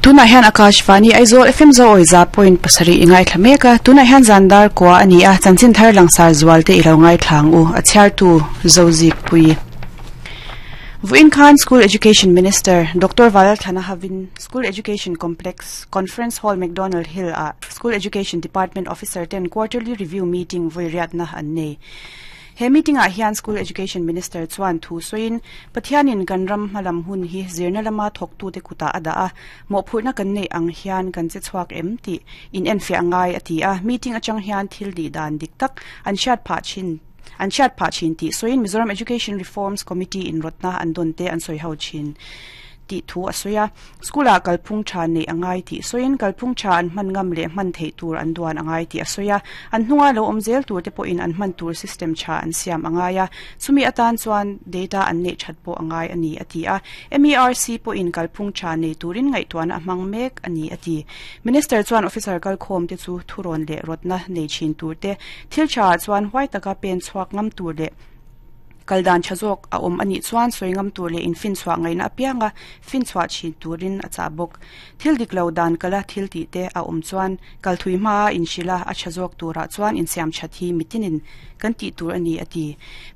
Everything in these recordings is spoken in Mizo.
Tunah hian Akashvani Aizawl FM Zoawi 100.7 i ngaithla mek a, tunah hian zan dar kua a ni a, chanchin thar langsar zual te i lo ngaithla ang u, a chhiartu Zozikpui. Vawiin khan School Education Minister Doctor Valalthana Havin School Education Complex Conference Hall McDonald Hill ah School Education Department Officer ten Quarterly Review Meeting vawi riatna an nei. He meeting ah hian School Education Minister chuan thu sawiin, Pathianin kan ram hmalam hun hi zirna lama thawktute kutah a dah a, mawhphurhna kan neih ang hian kan che chhuak em tih inenfiah ngai a ti a, meeting atang hian thil dih dan dik tak an hriat phah thin an hriat phah thin tih sawiin Mizoram Education Reforms Committee in rawtna an dawn te an sawi ho thin tih thu a sawi a. School-ah kalphung tha neih a ngai tih sawiin kalphung tha an hman ngam leh hman theih tur an duan a ngai tih a sawi a. An hnunga lo awm zel tur te pawhin an hman tur system tha an siam a ngai a, chumi atan chuan data an neih that pawh a ngai a ni a ti a. MERC pawhin kalphung tha nei turin ngaihtuahna a hmang mek a ni a ti. Minister chuan officer kalkhawm te chu thurawn leh rawtna nei thin tur te, thil tha ah chuan huai taka pen chhuak ngam tur leh kal dan tha zawk a awm a nih chuan sawi ngam tur leh infinchhuah ngaihna apianga finchhuah thin turin a chah bawk. Thil dik lo dan kala thil tih te a awm chuan kal thui hmaa inhrilh a, a tha zawk turah chuan insiam that hi mitinin kan tih tur a ni a ti.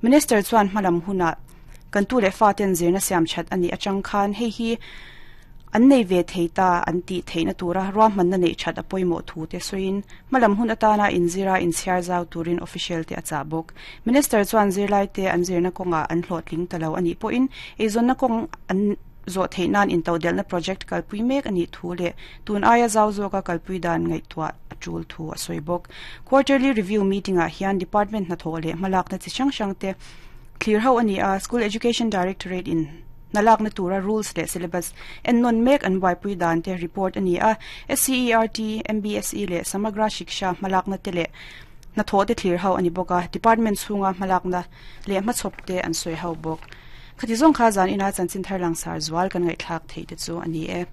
Minister chuan hmalam hunah kan tu leh faten zirna siam that a nih atang khan hei hi an nei ve thei ta an tih theihna tura ruahmanna neih that a pawimawh thu te sawiin hmalam hun atana inzira inchhiar zau turin official te a chah bawk. Minister chuan zirlaite an zirna kawngah an hlawhtling ta lo a nih pawhin eizawnna kawng an zawh theih nan intodelhna project kalpui mek a nih thu leh tun aia zau zawka kalpui dan ngaihtuah a tul thu a sawi bawk. Quarterly Review Meeting-ah hian Department hnathawh leh hmalakna chi hrang hrang te thlir ho a ni a, School Education Directorate in hnalakna tura rules leh syllabus ennawn mek an buaipui dan te report a ni a, SCERT, MBSE leh Samagra Shiksha hmalakna te leh hnathawh te thlir ho a ni bawk a, department chhunga hmalakna leh hmachhawp te an sawi ho bawk. Khati zawng kha zan ina chanchin thar langsar zual kan ngaihthlak theih te chu a ni e.